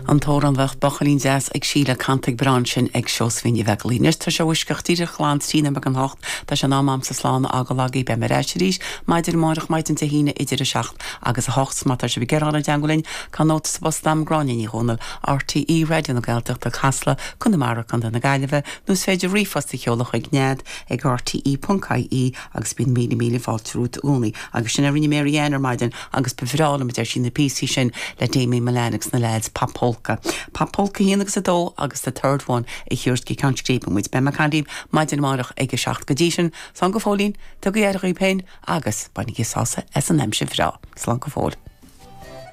An t-amhrán Bheadh Buachaillín Deas ag Síle canta go breá ansin ag Seosaimhín Ní Bheaglaoich. Anois tá sé uisceach díreach glan 13 nóiméad don hocht, tá sé in am a'msa slán a fhágáil agaibh. Beidh mé ar ais arís maidin amárach, maidin Dé hAoine idir 7 agus 8. 's má tá sibh ag iarraidh dul i dteangmháil linn, cuir nóta sa bpost a'm, Gráinne Ní Dhomhnaill, RTÉ Raidió na Gaeltachta, Casla, Conamara, Co. na Gaillimhe, nó is féidir ríomhphost a sheoladh chuig nead ag rte.ie agus bíonn míle míle fáilte romhat i gcónaí. Agus sin a rinne Mary Ann ar maidin agus ba bhreá liom, a deir sí, na píosaí sin le Damien Mullane agus na leaids, Pop Polka. Pop Polka 1 agus 2 agus The Third One a thabhairt go ceann scríbe muid. Beidh mé ag caint libh maidin amárach ag a 7 go dtí sin. Slán go fóillín, tugaigí aire dhaoibh féin agus bainigí sásamh as an aimsir bhreá. Slán go fóill.